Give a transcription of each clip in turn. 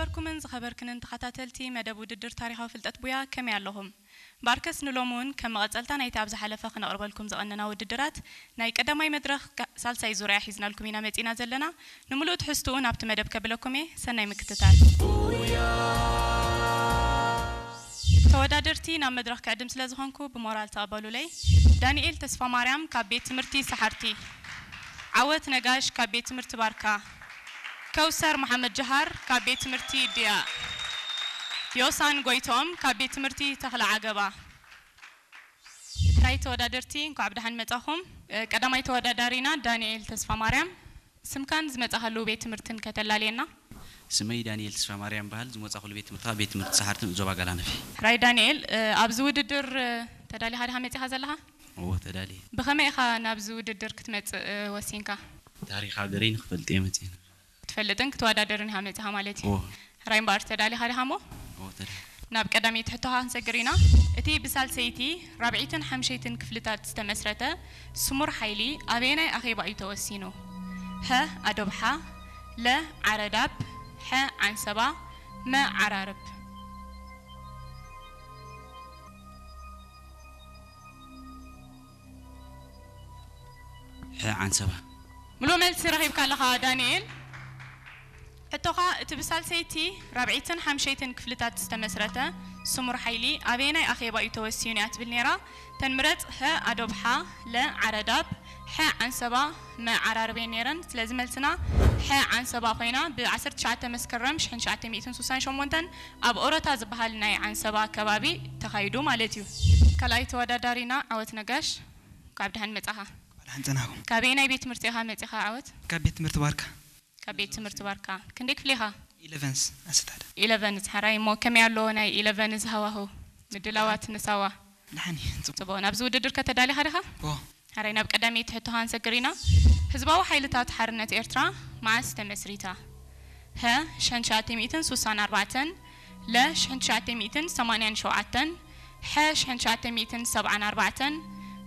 ዝኸበርኩምን ዝኸበርክንን ተኸታተልቲ መደብ ውድድር ታሪኻዊ ፍልጠት ቡያ፣ ከመይ ኣለኹም? ባርከስ ንሎሚ እውን ከም መቐጸልታ ናይቲ ኣብ ዝሓለፈ ክነቕርበልኩም ዝቐነና ውድድራት፣ ናይ ቀዳማይ መድረኽ ካ-፣ ሳልሳይ ዙርያ ሒዝናልኩም ኢና መጺና ዘለና። ንምሉእ ትሕዝትኡ ናብቲ መደብ ከብለኩም እየ። ሰናይ ምክትታል። ተወዳደርቲ ናብ መድረኽ ክዕድም ስለ ዝኾንኩ ብሞራል ተቐበሉለይ። ዳንኤል ተስፋማርያም ካብ ቤት ትምህርቲ ሰሓርቲ፣ ዓወት ነጋሽ ካብ ቤት ትምህርቲ ባርካ፣ ከውሰር መሓመድ ጀሃር ካብ ቤት ትምህርቲ ድያ፣ ዮሳን ጎይቶም ካብ ቤት ትምህርቲ ተኽለ ዓገባ። ሕራይ ተወዳደርቲ፣ እንኳዕ ብደሓን መጻኹም። እ፣ ቀዳማይ ተወዳዳሪና ዳንኤል ተስፋማርያም፣ ስምካን ዝመጻኻሉ ቤት ትምህርትን ከተላልየና። ስመይ ዳንኤል ተስፋማርያም በሃል። ዝመጻኹሉ ቤት ትምህርቲ ቤት ትምህርቲ ሰሓርትን ዞባ ጋላነፊ። ሕራይ ዳንኤል፣ እ፣ ኣብዚ ውድድር፣ እ፣ ተዳሊኻ ዲኻ መጺኻ ዘለኻ? እዎ፣ ተዳልየ። ብኸመይ ኢኻ ናብዚ ውድድር ክትመጽእ፣ እ፣ ወሲንካ? ታሪኽ ሃገረይ ንክፈልጥ እየ መጺኤ። ክትፈልጥን ክትወዳደርን ኢኻ መጺኻ ማለት እዩ። እዎ። ሕራይ እምበኣር ተዳሊኻ ዲኻ እሞ? እዎ፣ ተዳልየ። ናብ ቀዳመይቲ ሕቶኻ ክንሰግር ኢና። እቲ ብሳልሰይቲ፣ ራብዐይትን ሓምሸይትን ክፍልታት ዝተመስረተ ስሙር ሓይሊ ኣበየናይ ኣኼባ እዩ ተወሲኑ? ሀ ኣዶብሓ፣ ለ ዓረዳብ፣ ሐ ዓንሰባ፣ መ ዓራርብ። ሐ ዓንሰባ። ምሉእ መልሲ ረኺብካ ኣለኻ ዳንኤል። ሕቶኻ፣ እቲ ብሳልሰይቲ፣ ራብዐይትን ሓምሸይትን ክፍልታት ዝተመስረተ ስሙር ሓይሊ ኣበየናይ ኣኼባ እዩ ተወሲኑ እያ ትብል ነይራ። ተን ምረጽ፣ ሀ ኣዶብሓ፣ ለ ዓረዳብ፣ ሐ ዓንሰባ፣ መ ዓራርብ እየን ነይረን። ስለዚ መልስና ሐ ዓንሰባ ኮይና፣ ብ ዓሰርተ ትሽዓተ መስከረም ሽሕን ትሽዓተ ሚእትን ስሳን ሸሞንተን ኣብ ኦረታ ዝበሃል ናይ ዓንሰባ ከባቢ ተኻይዱ ማለት እዩ። ካልኣይ ተወዳዳሪና ዓወት ነጋሽ፣ ካብ ደሓን መጻኻ። ደሓን ጸናኹም። ካበየናይ ቤት ትምህርቲ ኢኻ መጺኻ ዓወት? ካብ ቤት ትምህርቲ ባርካ። ካብ ቤት ትምህርቲ ባርካ። ክንደይ ክፍሊ ኢኻ? ኢለቨንስ ኣሰታደ። ኢለቨንስ፣ ሕራይ። እሞ ከመይ ኣሎ ናይ ኢለቨንስ ሃዋሁ? ምድላዋት ንሳዋ? ደሓን እዩ፣ ጽቡቕ። ጽቡቕ። ናብዚ ውድድር ከተዳሊኻ ዲኻ? ዎ። ሕራይ፣ ናብ ቀዳመይቲ ሕቶኻ ክንሰግር ኢና። ህዝባዊ ሓይልታት ሓርነት ኤርትራ መዓስ ተመስሪታ? ሀ፣ ሽሕን ትሽዓተ ሚእትን ስሳን ኣርባዕተን፣ ለ፣ ሽሕን ትሽዓተ ሚእትን ሰማንያን ሸውዓተን፣ ሐ፣ ሽሕን ትሽዓተ ሚእትን ሰብዓን ኣርባዕተን፣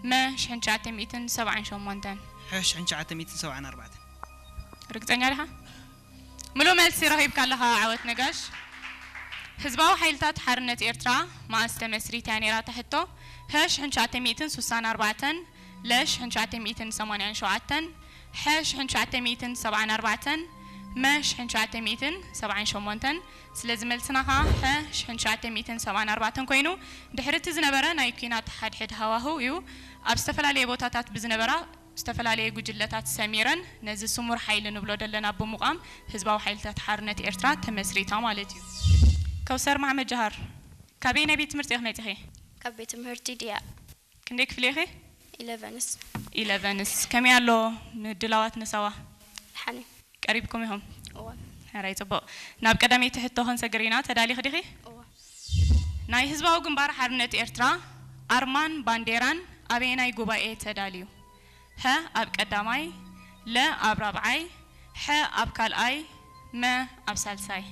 መ፣ ሽሕን ትሽዓተ ሚእትን ሰብዓን ሸሞንተን። ሐ፣ ሽሕን ትሽዓተ ሚእትን ሰብዓን ኣርባዕተን። ርግጸኛ ዲኻ? ምሉእ መልሲ ረኺብካ ኣለኻ ዓወት ነጋሽ። ህዝባዊ ሓይልታት ሓርነት ኤርትራ መኣስ ተመስሪታ እያ ነይራ እታ ሕቶ? ሀ፣ ሽሕን ትሽዓተ ሚእትን ስሳን ኣርባዕተን፣ ለ፣ ሽሕን ትሽዓተ ሚእትን ሰማንያን ሸውዓተን፣ ሐ፣ ሽሕን ትሽዓተ ሚእትን ሰብዓን ኣርባዕተን፣ መ፣ ሽሕን ትሽዓተ ሚእትን ሰብዓን ሸሞንተን። ስለዚ መልስና ኸኣ ሐ፣ ሽሕን ትሽዓተ ሚእትን ሰብዓን ኣርባዕተን ኮይኑ፣ ድሕሪ እቲ ዝነበረ ናይ ኲናት ሓድሕድ ሃዋህው እዩ ኣብ ዝተፈላለየ ቦታታት ብዝነበራ ዝተፈላለየ ጉጅለታት ሰሚረን ነዚ ስሙር ሓይሊ ንብሎ ዘለና ብምቋም ህዝባዊ ሓይልታት ሓርነት ኤርትራ ተመስሪታ ማለት እዩ። ከውሰር መሓመድ ጀሃር፣ ካበየናይ ቤት ትምህርቲ ኢኺ መጺኺ? ካብ ቤት ትምህርቲ ድያ። ክንደይ ክፍሊ ኢኺ? ኢለቨንስ። ኢለቨንስ። ከመይ ኣሎ ምድላዋት ንሳዋ? ደሓን እዩ። ቀሪብኩም ኢኹም? እወ። ሕራይ፣ ጽቡቕ። ናብ ቀዳመይቲ ሕቶ ክንሰግር ኢና። ተዳሊኺ ዲኺ? እወ። ናይ ህዝባዊ ግንባር ሓርነት ኤርትራ ኣርማን ባንዴራን ኣበየናይ ጉባኤ ተዳልዩ? ሀ ኣብ ቀዳማይ፣ ለ ኣብ ራብዓይ፣ ሐ ኣብ ካልኣይ፣ መ ኣብ ሳልሳይ።